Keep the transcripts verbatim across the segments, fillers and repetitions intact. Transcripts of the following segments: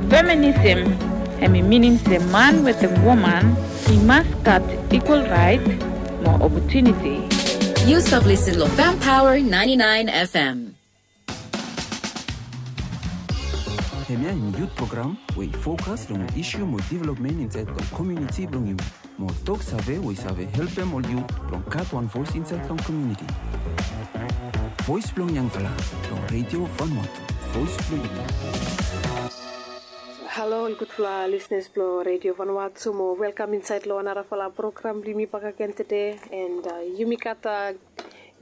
Feminism, hemi minim se man wetem woman i mas gat ekwal raet mo opotuniti. Yu stap lisin long Fem Power ninety-nine F M. Hemia hemi yut program we i fokas long ol isu mo developmen insaed long komuniti blong yumi. Mo tok save we i save helpem ol yut blong gat wan voes insaed long komuniti. Voes blong yangfala long Redio Vanuatu, voes blong yumi. Halo ol gudfala lisnas blong Redio Vanuatu, mo welkam insaed long narafala program blong yumi bakegen tede. And yumi gat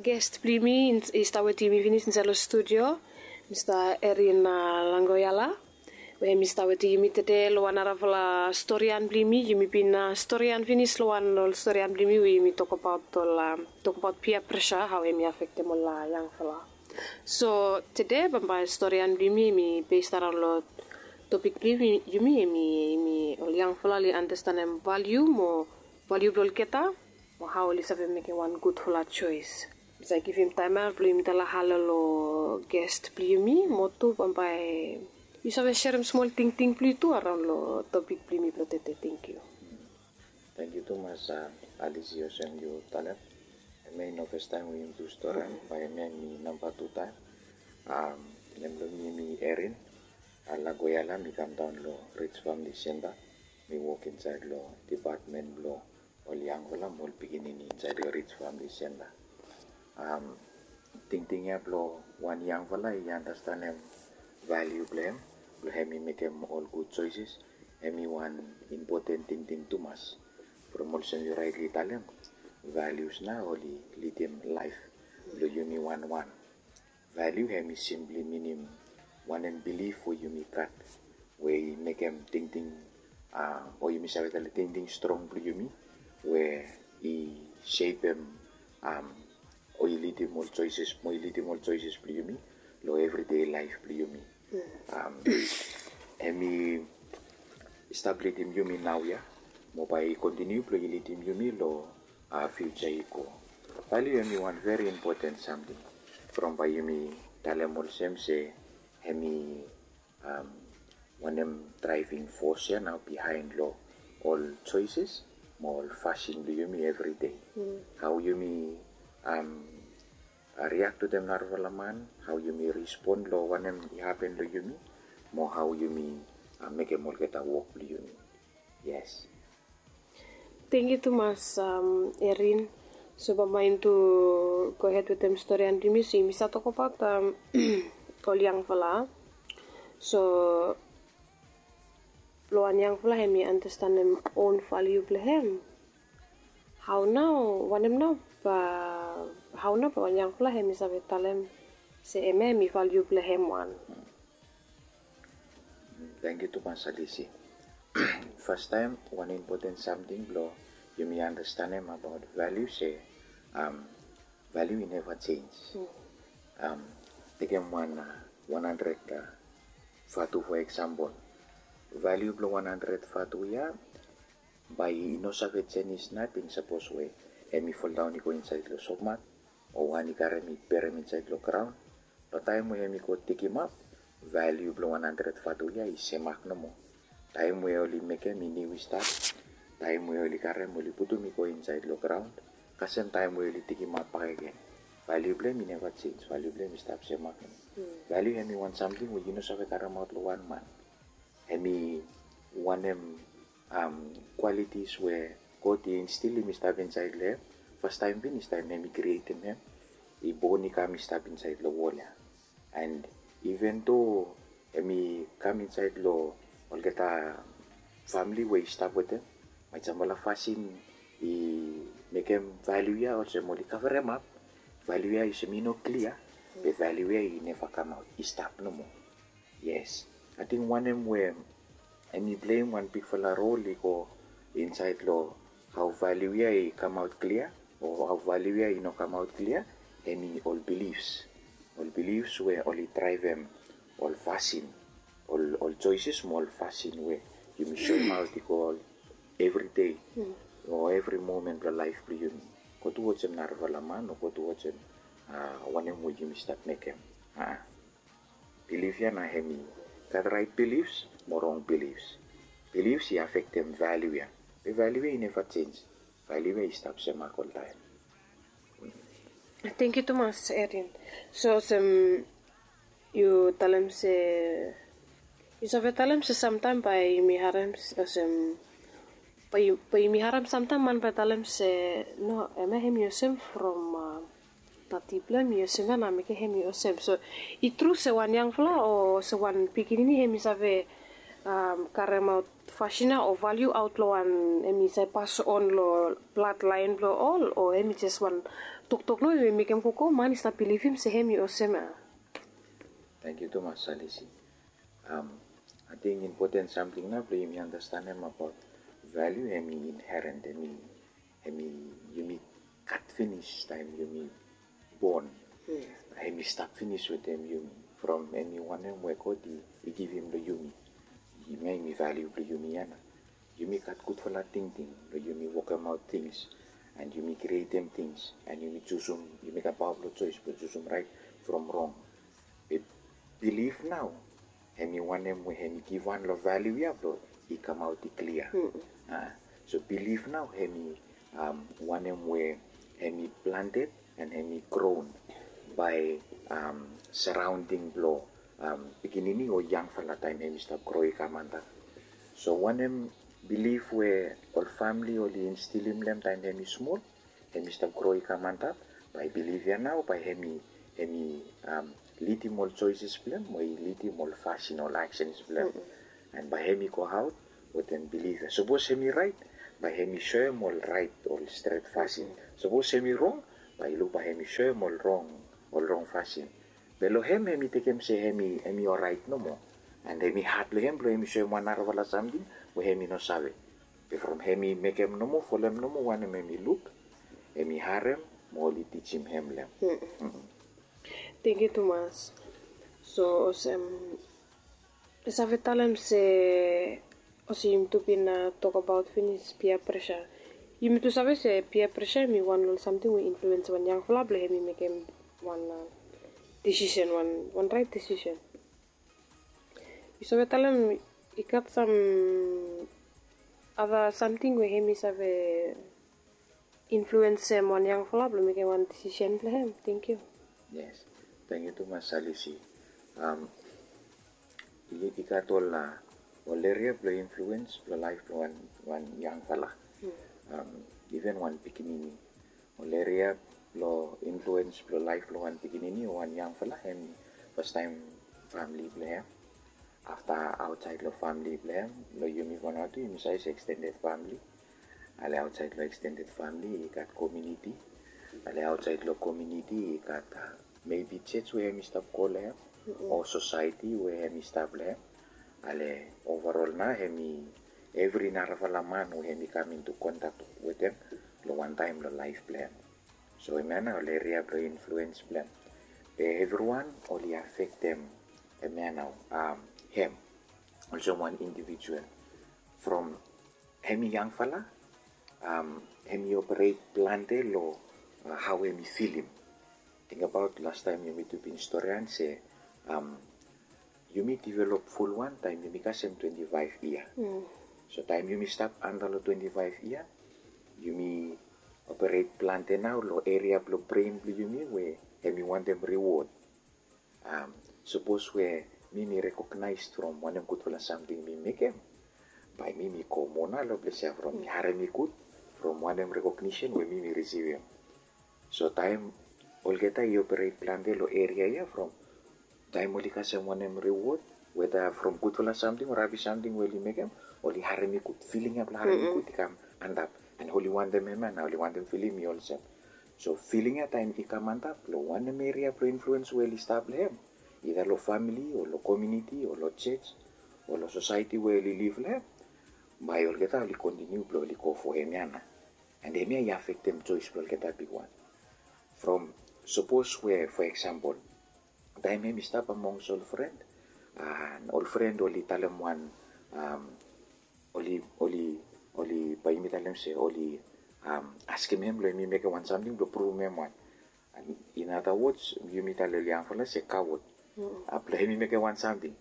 gest blong yumi i stap wetem yumi finis insaed long studio, Mista Erin Langoyala, we hemi stap wetem yumi tede long wan narafala storian blong yumi. Yumi bin storian finis long wan ol storian blong yumi we yumi tokbaot ol tokbaot peer pressure, hao hemi afektem ol yangfala. So tede bambae storian blong yumi hemi bes araon long topik blong yumi, hemi ol yangfala oli andastanem valiu mo valiu blong olgeta, mo hao oli save mekem wan gudfala joes. Mi save givim taem ya blong yumi talem halo long gest blong yumi, mo tu bambae yu save serem smol tingting blong yu tu araon long topik blong yumi blong tede. Tangkiu. Tangkiu tumas Alisi, olsem yu talem, hemia i no fastaem we yumi tu storian, bae hemia hemi namba tu taem. Nem blong mi hemi Erin Langoyala. Mi kamdaon long Rich Family Center. Mi wok insaed long dipatmen blong ol yangfala mo ol pikinini insaed long Rich Family Center. Tingting ya blong wan yangfala i andastanem valiu blong hem, blong hemi mekem ol gud joeses, hemi wan impoten tingting tumas. From olsem yu raetli talem, valius nao oli lidim laef blong yumi wanwan. Valiu hemi simpli minim wanem bilif we yumi gat we i mekem tingting, o yumi save talem tingting strong blong yumi, we i sepem o i lidim ol joeses, mo i lidim ol joeses blong yumi long evridei laef blong yumi. Hemi stap lidim yumi naoia, mo bae i kontiniu blong i lidim yumi long fiuja i go. Valiu hemi wan veri impoten samting. From bae yumi talem olsem se hemi wanem draeving fos ya nao bihaen long ol joeses mo ol fasin blong yumi evridei. Hao yumi riak wetem narafala man, hao yumi respon long wanem i hapen long yumi, mo hao yumi mekem olgeta wok blong yumi. Yes. Tangkiu tumas Erin. So bambae yumi tu gohed wetem storian blong yumi, so yumi save tokbaot ol yangfala. So blong wan yangfala hemi andastanem own valiu blong hem, hao nao, wanem nao bae, hao nao bae wan yangfala hemi save talem se hemia hemi valiu blong hem wan? Tangkiu tumas Alisi. Fastaem, wan impoten samting blong yumi andastanem abaot valiu se valiu i neva jenis. Tekem wan wan handred vatu fo eksampol. Valiu blong wan handred vatu ya bae i no save jenis nating sapos we hemi foldaon i go insaed long sopmat, o wan i karem i berem insaed long graon. Long taem we hemi go digimap, valiu blong wan handred vatu ya i semak nomo. Taem we oli mekem i niu i stap, taem we oli karem oli putum i go insaed long graon, kasem taem we oli digimap bakegen, valiu blong hem i neva jenis, valiu blong hem i stap semak nomo. Valiu hemi wan samting we yu no save karemaot long wan man. Hemi wanem kwalitis we God i instilim i stap insaed long hem. Fastaem finis taem hem i krietem hem, i bon i kam i stap insaed long wol ya. And even though hemi kam insaed long olgeta famili we i stap wetem, maet samfala fasin i mekem valiu ya olsem oli kaveremap, valiu ya olsem i no klia, be valiu ya i neva kamaot, i stap nomo. Yes. Ating wanem we hemi pleim wan bigfala rol i go insaed long hao valiu ya i kamaot klia o hao valiu ya i no kamaot klia, hemi ol bilifs. Ol bilifs we oli draevem ol fasin, ol, ol joeses mo ol fasin we yumi soemaot i go evri dei o evri momen blong laef blong yumi. Go tu olsem narafala man o go tu olsem wanem we yumi stap mekem. Bilif ya nao hemi gat raet bilifs, mo rong bilifs. Bilifs i afektem valiu ya. Be valiu ya i neva jenj. Valiu ya i stap semak oltaem. Tangkiu tumas, Erin. So olsem yu talem se, yu save talem se samtaem bae yumi harem olsem, bae yumi harem samtaem man bae talem se, no, hemia hemi olsem from tati blong hem i olsem ya, na mekem hemi olsem. So i tru se wan yangfala o se wan pikinini hemi save karemaot fasin ya o valiu aot long wan, hemi save pas on long bladlaen blong ol, o hemi jes wan toktok nomo we mekem gogo man i stap bilivim se hemi olsem ya? Tangkiu tumas, Salisi. Ating impoten samting nao blong yumi andastanem abaot valiu, hemi inheren, hemi yumi gat finis taem yumi bon. Hemi stap finis wetem yumi from hemi wanem we God i givim long yumi. Hemia hemi valiu blong yumi ya nao. Yumi gat gudfala tingting blong yumi wokemaot tings, and yumi krietem tings, and yumi jusum, yumi gat paoa blong joes blong jusum raet from rong. Be bilif nao hemi wanem we hemi givhan long valiu ya blong i kamaot i klia. So bilif nao hemi wanem we hemi planted and hemi groen bae saraonding blong pikinini o yangfala taem hemi stap gro i kam antap. So wanem bilif we ol famili oli instilim long hem taem hemi smol, hemi stap gro i kam antap, bae bilif ya nao bae hemi, hemi lidim ol joeses blong hem, o i lidim ol fasin, ol aksens blong hem. And bae hemi goaot wetem bilif ya. Sapos hemi raet, bae hemi soem ol raet, ol stret fasin. Sapos hemi rong, bae i luk bae hemi soem ol rong, ol rong fasin. Be long hem hemi tekem se hemi, hemi oraet nomo. And hemi hat blong hem blong hemi soem wan narafala samting we hemi no save. Be from hemi mekem nomo, folem nomo wanem hemi luk, hemi harem, mo oli tijim hem long hem. Tangkiu tumas. So olsem, yu save talem se, olsem yumi tu bin tokbaot finis peer pressure. Yumi tu save se peer pressure hemi wan long ol samting we influens wan yangfala blong hemi mekem wan desisen, wan, wan raet desisen. Yu save talem i gat sam other samting we hemi save influensem wan yangfala blong mekem wan desisen blong hem? Tangkiu. Yes. Tangkiu tumas, Salisi. I gat ol, ol eria blong influens blong laef blong wan, wan yangfala. Iven wan pikinini. Ol eria blong influens blong laef blong wan pikinini o wan yangfala, hem fastaem famili blong hem. Afta aotsaed long famili blong hem, long yumi Vanuatu yumi save se extended famili. Ale aotsaed long extended famili i gat komuniti. Ale aotsaed long komuniti i gat maybe jos we hemi stap go long hem, o sosaeti we hemi stap long hem. Ale overall nao hemi evri narafala man we hemi kam into contact wetem long wan taem long laef blong hem. So hemia nao ol eria blong influens blong hem. Be evriwan oli afektem hemia nao hem olsem wan indivijual. From hemi yangfala, hemi operet plante long hao hemi filim. Tingbaot lastaem yumi tu bin storian se yumi develop fulwan taem yumi kasem twenti faef yia. So taem yumi stap anda long twenti faef yia, yumi operet plante nao long eria blong bren blong yumi we hemi wantem riwod. Sapos we mi mi rekognaes from wanem gudfala samting mi mekem, bae mi mi go moa nao long ples ya from mi harem i gud from wanem rekognisen we mi mi risivim. So taem olgeta i operet plante long eria ya from taem oli kasem wanem riwod, weta from gudfala samting o rabis samting we oli mekem, oli harem i gud, filing ya blong harem i gud i kam antap. And oli wantem hemia nao, oli wantem filim i olsem. So filing ya taem i kam antap long wanem eria blong influens we oli stap long hem, ida long famili o long komuniti o long jos o long sosaeti we oli liv long hem, bae olgeta oli kontiniu blong oli go fo hemia nao. And hemia i afektem joes blong olgeta bigwan. From sapos we, for example, taem hemi stap amonges ol fren, and ol fren oli talem wan, oli, oli, oli, bae yumi talem se oli askem hem blong hemi mekem wan samting blong pruvum hem wan. And in other words, yumi talem ol yangfala se kawod. Blong hemi mekem wan samting.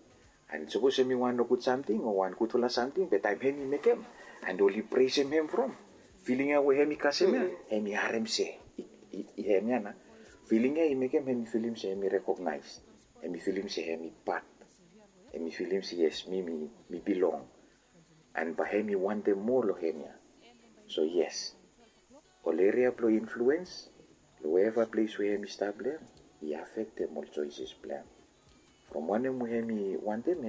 And sapos hemi wan nogud samting o wan gudfala samting, be taem hemi mekem and oli presem hem from, filing ya we hemi kasem ya, hemi harem se, i hem ya nao, filing ya i mekem hemi filim se hemi rekognaes, hemi filim se hemi pat, hemi filim se yes, mi mi bilong. And bae hemi wantem moa long hem ya. So yes, ol eria blong influens long weva ples we hemi stap long hem, i afektem ol joeses blong hem. From wanem we hemi wantem,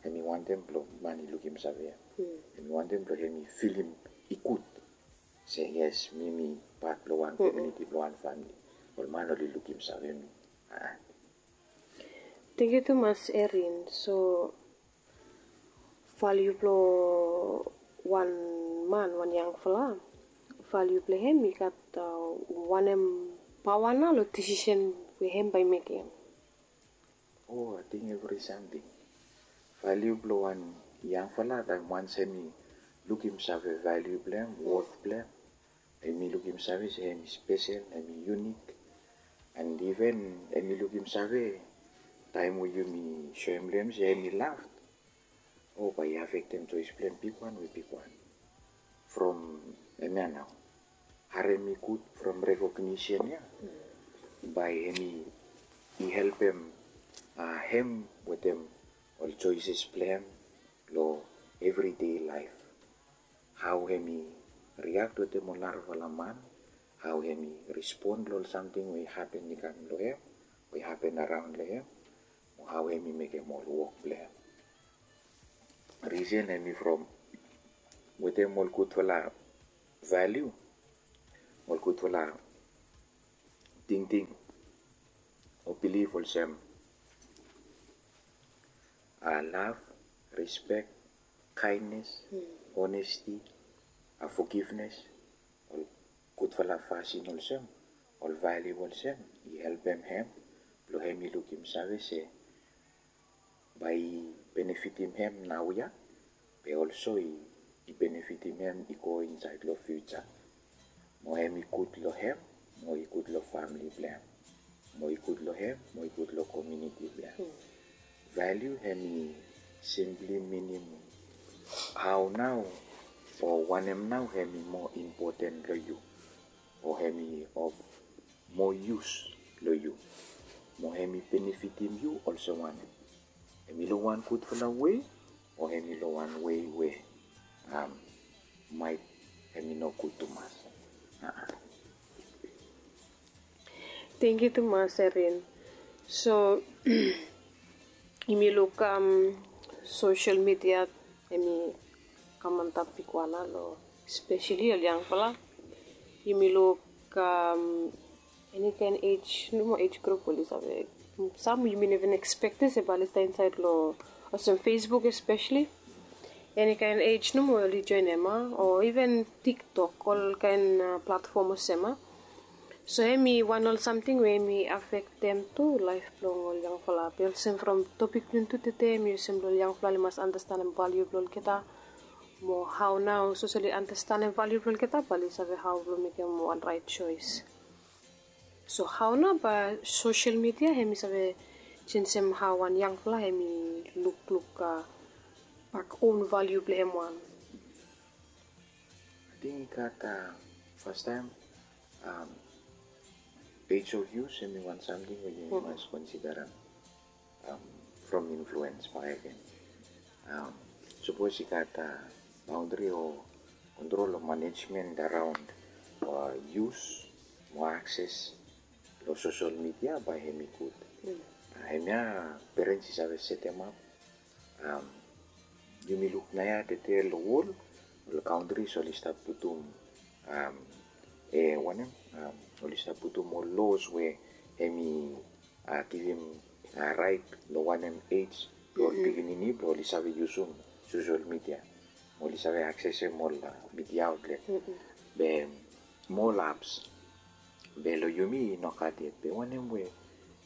hemi wantem blong man i lukim save hem. Hemi wantem blong hemi filim i gud se yes, mi mi pat blong wan komuniti, blong wan famili. Ol man oli lukim save mi. Tangkiu tumas Erin. So valiu blong wan man, wan yangfala, valiu blong hem i gat wanem paoa nao long disisen we hem bae i mekem? O, ating evri samting. Valiu blong wan yangfala, taem wans hemi lukim save valiu blong hem, wot blong hem, hemi lukim save se hemi spesel, hemi yunik. And iven hemi lukim save taem we yumi soem long hem se hemi laf, o, bae i afektem joes blong hem bigwan we bigwan. From hemia nao, harem i gud from rekognisen ya, bae hemi i helpem hem wetem ol joeses blong hem long evridei laef. Hao hemi riak wetem ol narafala man, hao hemi respon long ol samting we i hapen i kam long hem, we i hapen araon long hem, mo hao hemi mekem ol wok blong hem. Risen hemi from wetem ol gudfala valiu, ol gudfala tingting o bilif olsem laf, rispek, kaenes, onesti, fogivnes, ol gudfala fasin olsem, ol valiu olsem i helpem hem blong hem i lukim save se bae i benefitim hem naoia, be olso i benefitim hem i go insaed long fiuja. Mo hem i gud long hem, mo i gud long famili blong hem, mo i gud long hem, mo i gud long komuniti blong hem. Valiu hemi simpli minim hao nao o wanem nao hemi moa impoten long yu, o hemi of moa yus long yu, mo hemi benefitim yu olsem wanem. Hemi long wan gudfala wei, o hemi long wan wei we maet hemi no gud tumas. Tangkiu tumas Erin. So yumi luk sosel midia hemi kam antap bigwan nao long speseli ol yangfala. Yumi luk eni kaen ej nomo, ej grup oli save, sam yumi no even ekspektem se bae oli stap insaed long olsem Facebook espeseli. Eni kaen ej nomo oli joenem, o iven TikTok, ol kaen platfom olsem. So hemi wan ol samting we hemi afektem tu laef blong ol yangfala. Be olsem from topik blong tede hemi olsem blong ol yangfala oli mas andastanem valiu blong olgeta. Mo hao nao sapos oli andastanem valiu blong olgeta bae oli save hao blong mekem wan raet joes. So hao nao bae sosel midia hemi save jenjem hao wan yangfala hemi lukluk bak own valiu blong hem wan? Ating i gat fastaem, age of use hemi wan samting we yumi mas konsiderem from influens bakegen. Sapos i gat baondri o kontrol o manejmen araon yus mo akses long sosel midia, bae hemi gud. Hemia perens i save setemap. Yumi luk naoia tede long wol, ol kaontris oli stap putum, e wanem, oli stap putum ol los we hemi givim raet long wanem ej blong ol pikinini blong oli save yusum sosel midia, mo oli save aksesem ol midia aotlet, be mo ol aps. Be long yumi i no gat yet. Be wanem we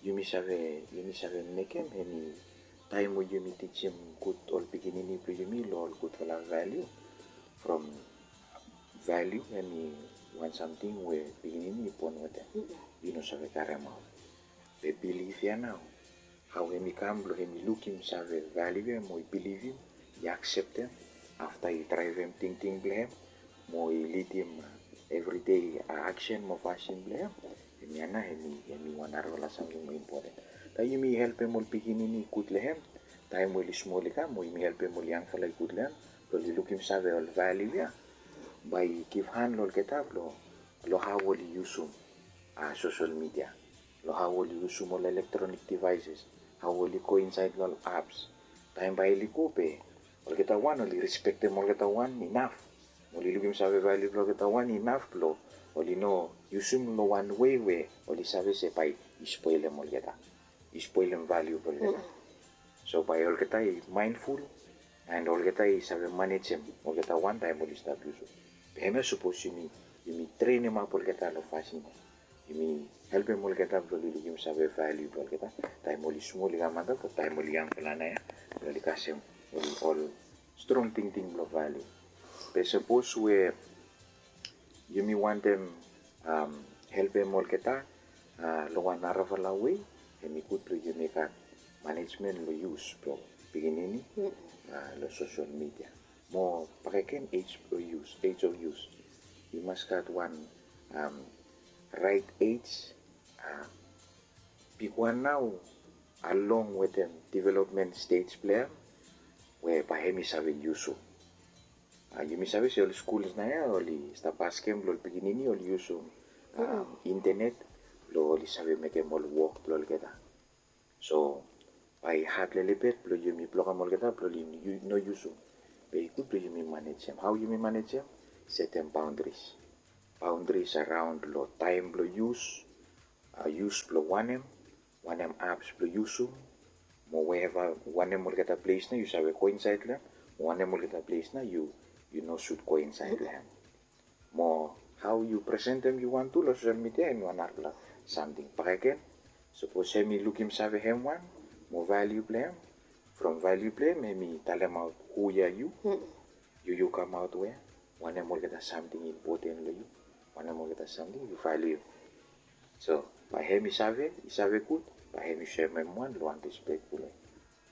yumi save, yumi save mekem, hemi taem we yumi tijim gud ol pikinini blong yumi long ol gudfala valiu. From valiu hemi wan samting we pikinini i bon wetem, i no save karemaot. Be bilif ya nao Hao hem i kam blong hem i lukim save valiu ya mo i bilivim, i akseptem, afta i draevem tingting blong hem mo i lidim evridei aksen mo fasin blong hem. Hemia nao hem i wan narafala samting mo impoten. Taem yumi helpem ol pikinini i gud long hem, taem we oli smol i kam mo yumi helpem ol yangfala i gud long hem, blong oli lukim save ol valiu ya, bae i givhan long olgeta blong hao oli yusum sosel midia, long hao oli yusum ol elektronik devaeses, hao oli go insaed long ol aps. Taem bae oli go be olgeta wan oli respektem olgeta wan inaf, mo oli lukim save valiu blong olgeta wan inaf blong oli no yusum long wan wei we oli save se bae i spolem olgeta, i spolem valiu blong olgeta. So bae olgeta i maenful, and olgeta i save manejem olgeta wan taem oli stap yusum. Be hemia sapos yumi trenemap olgeta long fasin ya, yumi helpem olgeta blong oli lukim save valiu blong olgeta taem oli smol i kam antap, o taem oli yangfala nao ya, blong oli kasem ol strong tingting blong valiu. Be sapos we yumi wantem helpem olgeta long wan narafala wei, hem i gud blong yumi gat manejmen long yus blong pikinini long sosel midia. Mo bakegen ej blong yus, ej of yus, i mas gat wan raet ej, bigwan nao along wetem developmen stej blong hem, we bae hem i save yusum. Yumi save se ol skuls nao ya oli stap askem long ol pikinini oli yusum intenet blong oli save mekem ol wok blong olgeta. So bae i had lelebet blong yumi blokem olgeta blong oli no yusum. Be i gud blong yumi manejem. Hao yumi manejem? Setem baondris. Baondris araon long taem blong yus, yus blong wanem, wanem aps blong yusum, mo weeva wanem olgeta ples nao yu save go insaed long hem, mo wanem olgeta ples nao yu no sud go insaed long hem. Mo hao yu presentem yu wan tu long sosel midia hem i wan narafala samting bakegen. Sapos hem i lukim save hem wan mo valiu blong hem, from valiu blong hem hem i talemaot hu ya yu, yu yu kamaot wea, wanem olgeta samting i impoten long yu, wanem olgeta samting yu valiu. So bae hem i save, i save gud, bae hem i soem hem wan long wan respekful wei.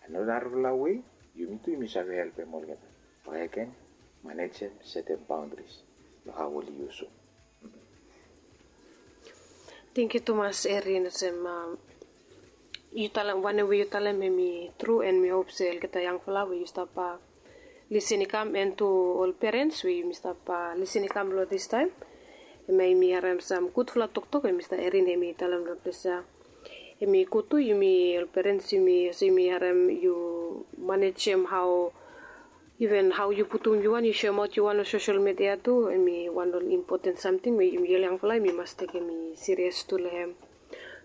And long narafala wei yumi tu yumi save helpem olgeta bakegen, manejem, setem baondris long hao oli yusum. Tangkiu tumas Erin, olsem yu talem, wanem we yu talem hem i tru, and mi hop se olgeta yangfala we yu stap lisin i kam, and tu ol perens we yumi stap lisin i kam long distaem, hemia yumi harem sam gudfala toktok we Mista Erin hem i talem long ples ya. Hem i gud tu yumi ol perens yumi, olsem yumi harem yu manejem hao, iven hao yu putum yu wan, yu soemaot yu wan long sosel midia tu, hem i wan ol impoten samting we yumi ol yangfala yumi mas tekem i sirias tu long hem.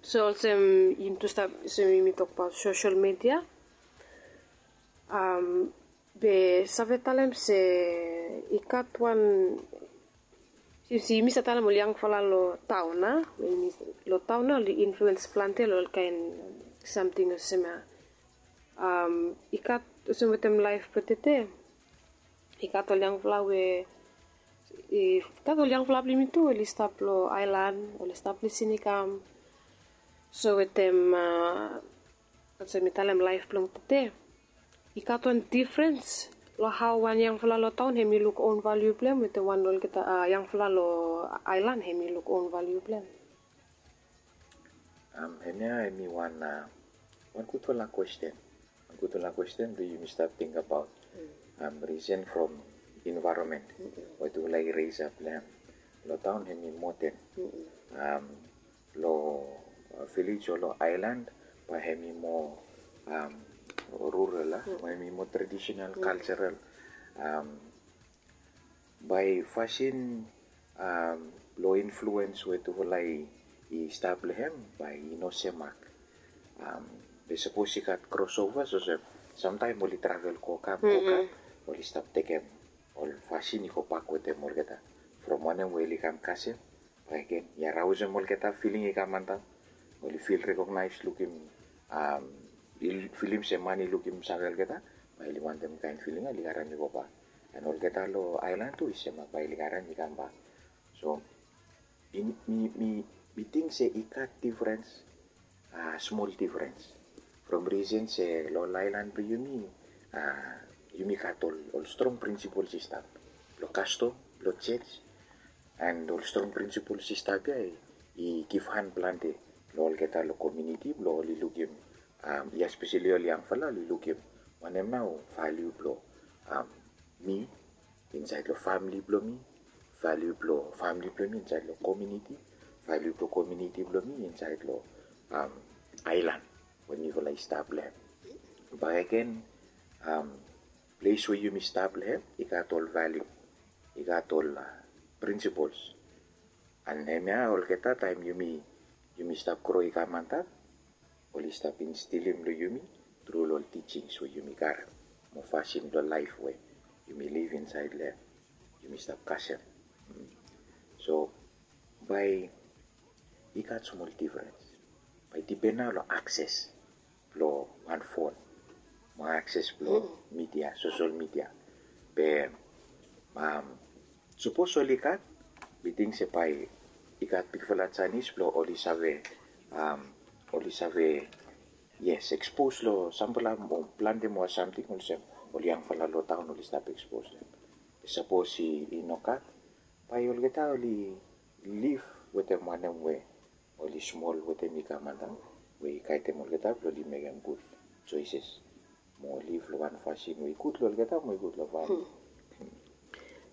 So olsem yumi tu stap, olsem yumi tokbaot sosel midia, be save talem se i gat wan, since yumi save talem ol yangfala long taon, a, long taon nao oli influens plante long olkaen samting olsem ya. I gat olsem wetem laef blong tede, i gat ol yangfala we, i gat ol yangfala blong yumi tu oli stap long aelan, oli stap lisin i kam. So wetem, olsem mi talem laef blong tede, i gat wan difrens long hao wan yangfala long taon hem i luk own valiu blong hem wetem wan olgeta yangfala long aelan hem i luk own valiu blong hem. Hemia hem i wan, wan gudfala kwesten. Wan gudfala kwesten blong yumi stap tingbaot. Risen from envaeronmen we tufala i resap long hem. Long taon hem i moten. Long vilej o long aelan bae hem i moa rural, a, bae hem i moa tradisenal, kalserol. Bae fasin blong influens we tufala i stap long hem bae i no semak. Be sapos i gat krosovas olsem, samtaem oli travel go kam go kam, oli stap tekem ol fasin i gobak wetem olgeta. From wanem we oli kam kasem, bae i ken i araosem olgeta, filing i kam antap. Oli fil rekognaes, lukim, filim se man i lukim save olgeta, bae oli wantem kaen filing ya oli karem i gobak. And olgeta long aelan tu i semak, bae oli karem i kambak. So mi, mi, mi ting se i gat difrens, smol difrens from risen se long ol aelan blong yumi, yumi gat ol strong prinsipols i stap long kastom, long jej, and ol strong prinsipols i stap ya i givhan plante long olgeta long komiuniti blong oli lukim, ya speseli ol yangfala oli lukim wanem nao valiu blong mi insaed long famili blong mi, valiu blong famili blong mi insaed long komiuniti, valiu blong komiuniti blong mi insaed long aelan we mifala i stap long hem. Bakegen, ples we yumi stap long hem i gat ol valiu, i gat ol prinsipols. And hemia olgeta taem yumi stap gro i kam antap, oli stap instilim long yumi tru long ol tijings we yumi karem mo fasin blong laef we yumi liv insaed long hem, yumi stap kasem. So bae i gat smol difrens. Bae i dipen nao long akses blong wan fon mo akses blong midia, sosel midia. Be sapos oli gat, mi ting se bae i gat bigfala janis blong oli save, oli save, yes, ekspos long samfala mo plante moa samting olsem ol yangfala long taon oli stap ekspos long hem. Be sapos i nogat, bae olgeta oli liv wetem wanem we oli smol wetem i kam antap, we i gaedem olgeta blong oli mekem gud joeses mo liv long wan fasin we i gud long olgeta mo i gud long famili.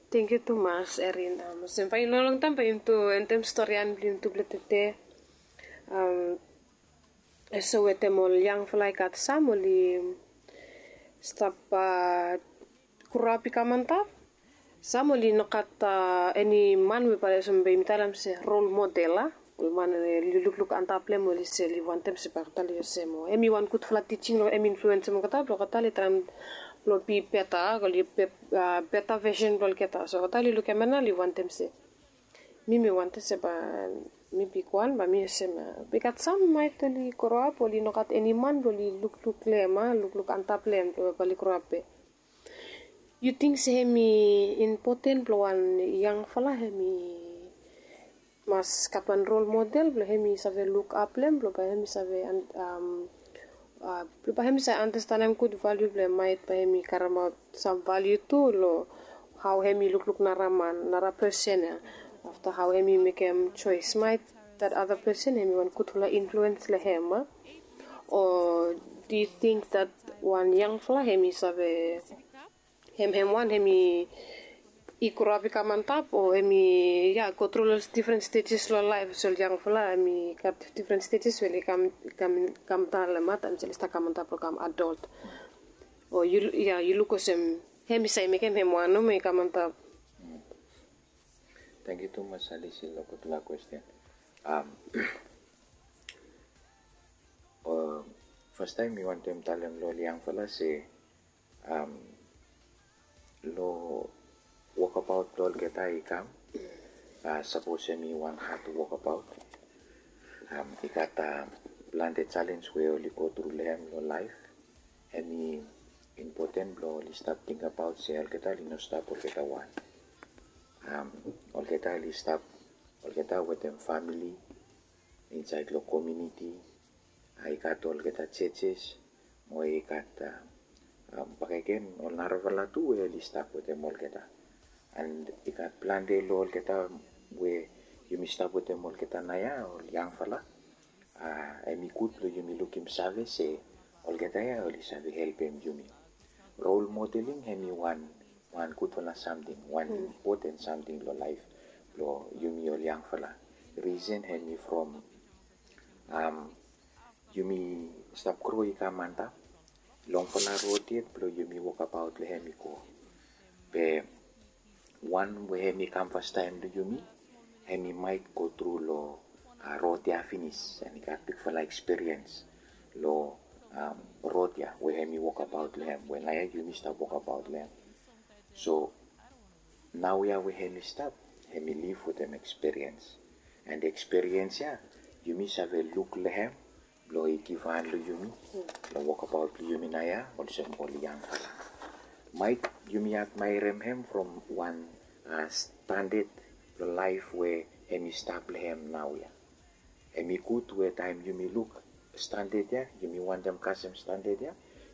Tangkiu tumas, Erin. Olsem bae i no longtaem bae yumi tu endem storian blong yumi tupela tede. Olsem wetem ol yangfala i gat sam oli stap groap i kam antap. Sam oli no gat eni man we bae olsem bae yumi talem se rol model, a? Ol man we oli lukluk antap long hem, oli se oli wantem se bae oli talem olsem o hemi wan gudfala tijing long hem, influensem olgeta blong olgeta oli traem blong bi beta, oli beta vesen blong olgeta. So olgeta oli lukim hem nao oli wantem se mi mi wantem se bae mi bigwan bae mi olsem. Be i gat sam maet oli groap oli no gat eni man blong oli lukluk long hem, a, lukluk antap long hem, bae oli groap be. Yu ting se hemi impoten blong wan yangfala hemi mas gat wan rol model blong hemi save lukap long hem blong bae hemi save blong bae hemi save andastanem gud valiu blong hem, maet bae hemi karemaot sam valiu tu long hao hemi lukluk nara man, nara pesen ya. Afta hao hemi mekem joes, maet that other person hemi wan gudfala influens long hem, a? O do you think that wan yangfala hemi save hem hem wan hemi i groap i kam antap o hemi ya go tru long difren stejes long laef? Olsem ol yangfala hemi gat difren stejes we oli kam, kam, kam daon long hem taem oli stap kam antap long kam adol. O yu, ya, yu luk olsem hemi save mekem hem wan nomo i kam antap? Tangkiu tumas Alisi long gudfala kwesten. Fastaem mi wantem talem long ol yangfala se long wokabaot blong olgeta i kam, sapos hemi wan had wokabaot, i gat plante jalenj we oli go tru long hem long laef. Hemi impoten blong oli stap tingbaot se olgeta oli no stap olgeta wan. Olgeta oli stap olgeta wetem famili insaed long komiuniti. I gat olgeta jejes mo i gat bakegen ol narafala tu we oli stap wetem olgeta. And i gat plante long olgeta we yumi stap wetem olgeta naoia, ol yangfala. Hemi gud blong yumi lukim save se olgeta ya oli save helpem yumi. Rol modeling hemi wan, wan gudfala samting, wan impoten samting long laef blong yumi ol yangfala. Risen hemi from yumi stap gro i kam antap, longfala rod yet blong yumi wokabaot long hem i go. Be wan we hemi kam fastaem long yumi, hemi maet go tru long rod ya finis, and i gat bigfala ekspiriens long rod ya we hemi wokabaot long hem, we naoia yumi stap wokabaot long hem. So naoia we hemi stap, hemi liv wetem ekspiriens. And ekspiriens ya yumi save luk long hem blong i givhan long yumi long wokabaot blong yumi naoia olsem ol yangfala. Maet yumi admaerem hem from wan standad blong laef we hemi stap long hem naoia. Hemi gud we taem yumi luk standad ya, yumi wantem kasem standad ya,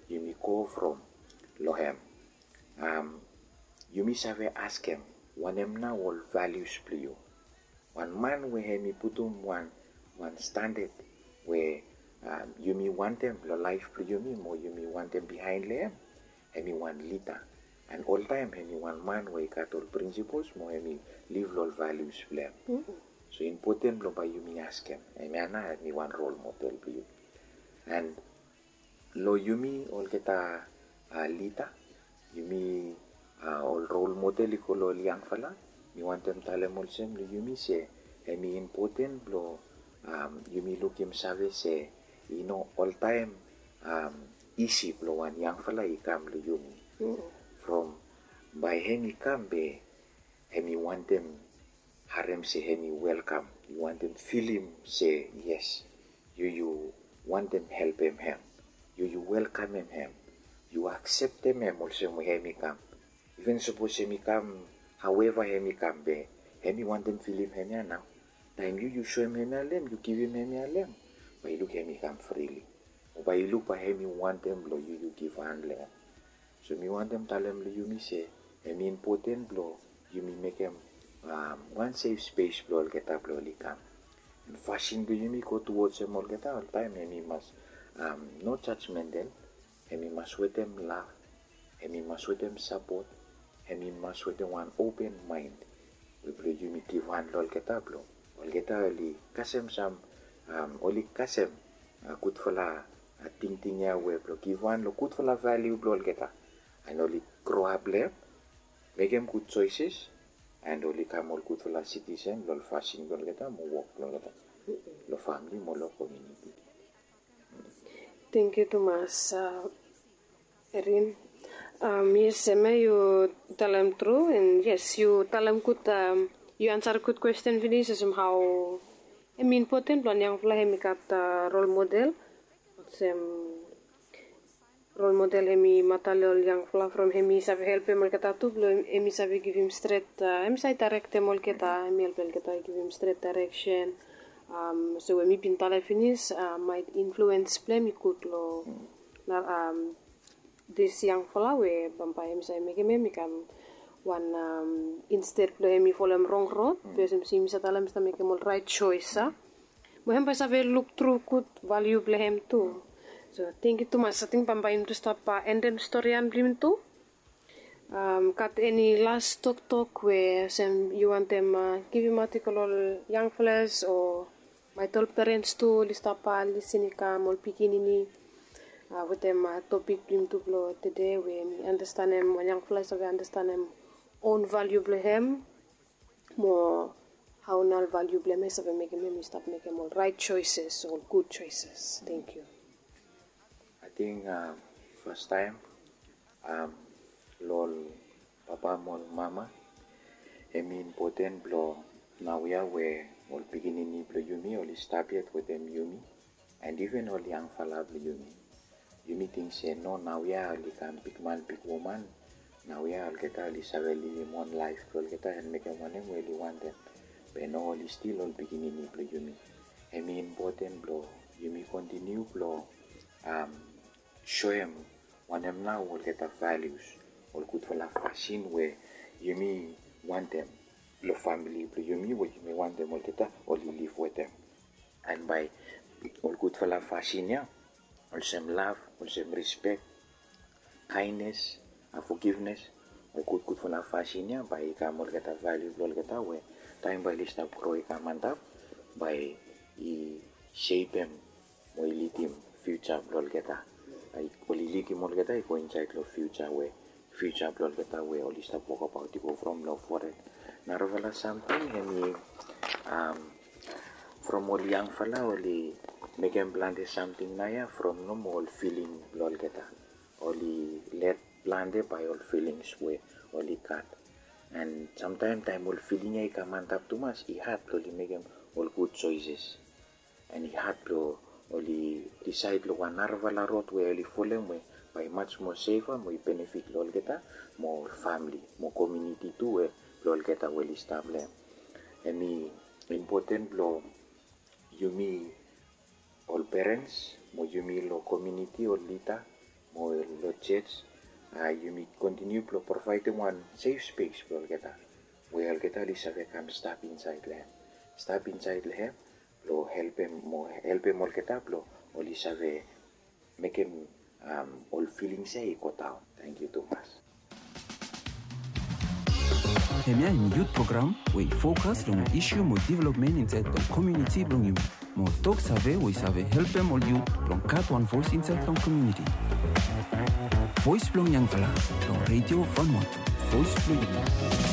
yumi go from long hem. Yumi save askem wanem nao ol valius blong yu. Wan man we hem i putum wan wan standad we yumi wantem long laef blong yumi mo yumi wantem bihaen long hem, hem i wan lida. An oltaem hem i wan man we i gat ol prinsipols mo hem i liv long ol valius blong hem. So impoten blong bae yumi askem hemia nao hem i wan rol model blong yu. An long yumi olgeta lida, yumi ol rol model i go long ol yangfala, mi wantem talem olsem long yumi se hem i impoten blong yumi lukim save se i no oltaem isi blong wan yangfala i kam long yumi. From bae hem i kam be hem i wantem harem se hem i welkam, i wantem filim se yes, yu yu wantem helpem hem, yu yu welkamem hem, yu akseptem hem olsem we hem i kam. Iven sapos hem i kam haoeva hem i kam be hem i wantem filim hemia nao. Taem yu yu soem hemia long hem, yu givim hemia long hem, bae i luk hem i kam frili. O bae i luk bae hem i wantem blong yu yu givhan long hem. So mi wantem talem long yumi se hem i impoten blong yumi mekem wan sef spes blong olgeta blong oli kam. An fasin blong yumi go tuods hem olgeta oltaem hem i mas no jajmentel, hem i mas wetem lav, hem i mas wetem sapot, hem i mas wetem wan open maen we blong yumi givhan long olgeta blong olgeta oli kasem sam, oli kasem gudfala tingting ya we blong givhan long gudfala valiu blong olgeta. An oli groap long hem, mekem gud joeses, an oli kam ol gudfala sitisen long ol fasin blong olgeta mo wok blong olgeta long famili mo long komuniti. Tangkiu tumas Erin. Yes, hemia yu talem tru, an yes, yu talem gud, yu ansarem gud kwesten finis olsem hao hem i impoten blong wan yangfala hem i gat rol model. Olsem rol model hem i mata long ol yangfala from hem i save helpem olgeta tu blong hem i save givim stret, hem i save daerektem olgeta, hem i helpem olgeta givim stret daereksen. So we mi bin talem finis, maet influens blong hem i gud long dis yangfala we bambae hem i save mekem hem i kam wan, insted blong hem i folem rong rod, be olsem se yumi save talem i stap mekem ol raet joes a. Mo hem bae i save luktru gud valiu blong hem tu. So tangkiu tumas. Ating bambae yumi tu stap endem storian blong yumi tu. Gat eni las toktok we olsem yu wantem givimaot i go long ol yangfalas o maet ol perens tu oli stap lisin i kam, ol pikinini, wetem topik blong yumi tu blong tede we mi andastanem, wan yangfala i save andastanem own valiu blong hem mo hao nao ol valiu blong hem i save mekem hem i stap mekem ol raet joeses, ol gud joeses. Tangkiu. Ating fastaem long ol papa mo ol mama, hem i impoten blong naoia we ol pikinini blong yumi oli stap yet wetem yumi, an iven ol yangfala blong yumi. Yumi ting se no, naoia oli kam bigman bigwoman, naoia olgeta oli save livim on laef blong olgeta an mekem wanem we oli wantem. Be no, oli stil ol pikinini blong yumi. Hem i impoten blong yumi kontiniu blong soem wanem nao olgeta valius, ol gudfala fasin we yumi wantem long famili blong yumi we yumi wantem olgeta oli liv wetem. An bae ol gudfala fasin ya olsem lav, olsem rispek, kaenes, fogivnes, ol gudgudfala fasin ya bae i kam olgeta valiu blong olgeta we taem bae oli stap gro i kam antap, bae i sepem mo i lidim fiuja blong olgeta. Oli lidim olgeta i go insaed long fiuja we fiuja blong olgeta we oli stap wokbaot i go from long fored. Narafala samting hem i from ol yangfala oli mekem plante samting naoia from nomo ol filing blong olgeta. Oli led plante bae ol filings we oli gat. An samtaem taem ol filing ya i kam antap tumas, i had blong oli mekem ol gud joeses. An i had blong oli disaed long wan narafala rod we oli folem we bae i maj moa sefa mo i benefit long olgeta mo ol famili mo komuniti tu we blong olgeta we oli stap long hem. Hem i impoten blong yumi ol perens mo yumi long komuniti, ol lida mo long jej, a yumi kontiniu blong provaedem wan sef spes blong olgeta we olgeta oli save kam stap insaed long hem, stap insaed long hem blong helpem mo helpem olgeta blong oli save mekem ol filings ya i go daon. Tangkiu tumas. Hemia hem yut program we i fokas long ol isu mo developmen insaed long komuniti blong yumi, mo tok save we i save helpem ol yut blong gat wan voes insaed long komuniti. Voes blong yangfala long Redio Vanuatu, voes blong yumi.